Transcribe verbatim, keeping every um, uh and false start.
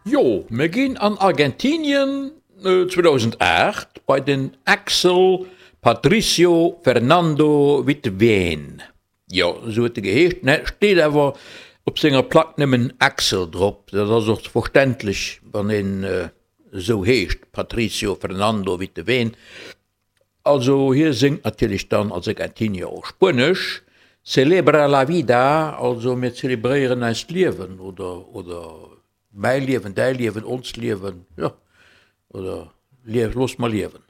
Jo, mir ginn an Argentinien zweedausendacht bei den Axel Patricio Fernando Witteveen. Jo, esou huet e geheescht, ne, steet awer op senger Plack nëmmen Axel drop. Dat ass och verständlech, wann een esou heescht, Patricio Fernando Witteveen. Also hie séngt natierlech dann als Argentinier och Spuenesch, Celebra la vida, also mir zelebréieren eist Liewen oder, oder mäi Liewen, däi Liewen, onst Liewen, jo, oder looss mer liewen.